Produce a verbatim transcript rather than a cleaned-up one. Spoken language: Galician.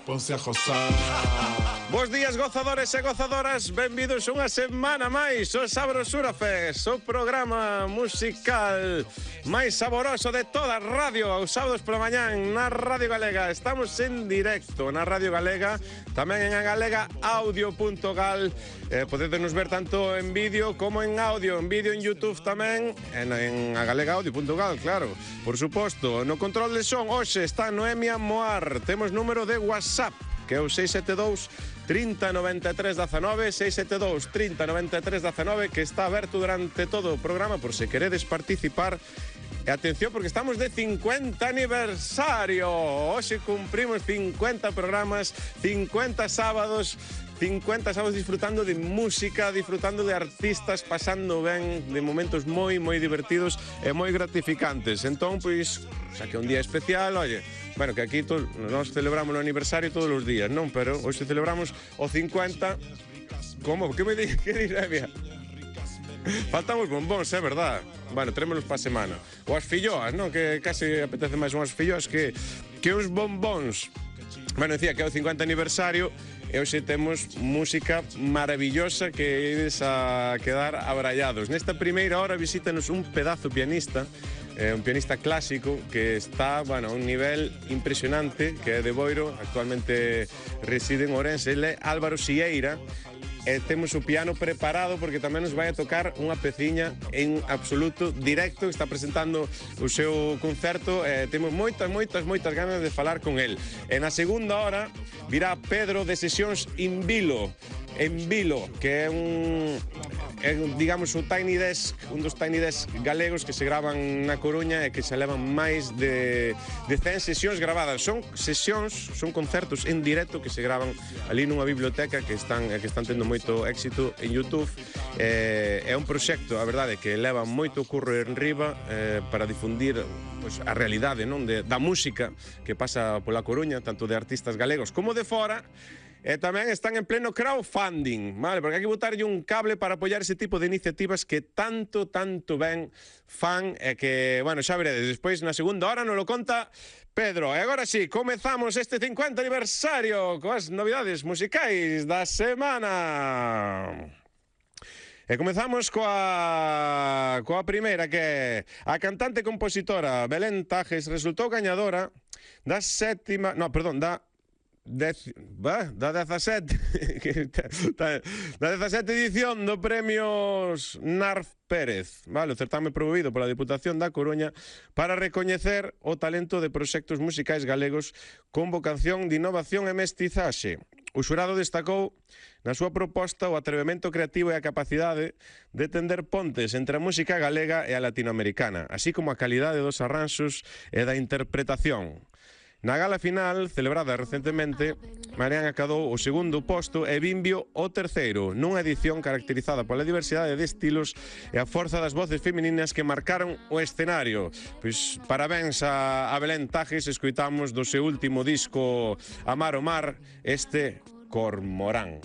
Ponse a gozar. Bos días, gozadores e gozadoras. Benvidos unha semana máis ao Sabrosura Fest, o programa musical máis saboroso de toda a radio. Aos sábados pola mañán na Radio Galega. Estamos en directo na Radio Galega, tamén en a galega audio punto gal. Eh, podedes ver tanto en vídeo como en audio. En vídeo en YouTube tamén, en, en a galega audio punto gal, claro. Por suposto, no control de son hoxe está Noemia Moar. Temos número de WhatsApp, que é o seis sete dous, trinta, noventa e tres, dezanove, seis sete dous, trinta, noventa e tres, dezanove, que está aberto durante todo o programa por se queredes participar. E atención, porque estamos de cincuenta aniversario. Hoxe cumprimos cincuenta programas, cincuenta sábados, cincuenta sábados disfrutando de música, disfrutando de artistas, pasando ben, de momentos moi, moi divertidos e moi gratificantes. Entón, pois, xa que é un día especial, oye, bueno, que aquí to, nos celebramos o aniversario todos os días, non? Pero hoxe celebramos o cincuenta. Como? Que me di? Que diré, faltamos bombóns, é verdad. Bueno, terémonos pa semana. Ou as filloas, non? Que casi apetece máis unhas filloas que, que uns bombóns. Bueno, decía que é o cincuenta aniversario e hoxe temos música maravillosa que ides a quedar abrallados. Nesta primeira hora visítanos un pedazo pianista, eh, un pianista clásico que está, bueno, a un nivel impresionante, que é de Boiro, actualmente reside en Ourense. Ele é Álvaro Sieira. E temos o piano preparado porque tamén nos vai a tocar unha peciña en absoluto directo, que está presentando o seu concerto. E temos moitas, moitas, moitas ganas de falar con el. E na segunda hora virá Pedro de Sesións In Vilo, en Vilo, que é un, é, digamos, o Tiny Desk, un dos Tiny Desk galegos que se gravan na Coruña e que se levan máis de, de cen sesións grabadas. Son sesións, son concertos en directo que se gravan ali nunha biblioteca que están, que están tendo moito éxito en YouTube. Eh, é un proxecto, a verdade, que leva moito curro en riba eh, para difundir pois, a realidade, non, de, da música que pasa pola Coruña, tanto de artistas galegos como de fora. E tamén están en pleno crowdfunding, vale? Porque hai que botarlle un cable para apoiar ese tipo de iniciativas que tanto, tanto ben fan e que, bueno, xa veredes, despois na segunda hora nos lo conta Pedro. E agora sí, comezamos este cincuenta aniversario coas novidades musicais da semana. E comezamos coa, coa primeira, que é a cantante e compositora Belén Tajes resultou gañadora da sétima, no, perdón, da Dez, bah, da dezasete da dezasete edición do Premios Narf Pérez, vale, o certame promovido pola Diputación da Coruña para recoñecer o talento de proxectos musicais galegos con vocación de innovación e mestizaxe. O xurado destacou na súa proposta o atrevemento creativo e a capacidade de tender pontes entre a música galega e a latinoamericana, así como a calidade dos arranxos e da interpretación. Na gala final, celebrada recentemente, Marián acadou o segundo posto e Bimbio o terceiro, nunha edición caracterizada pola diversidade de estilos e a forza das voces femininas que marcaron o escenario. Pois parabéns a, a Belén Tajes, escoitamos do seu último disco Amar o Mar, este Cormorán.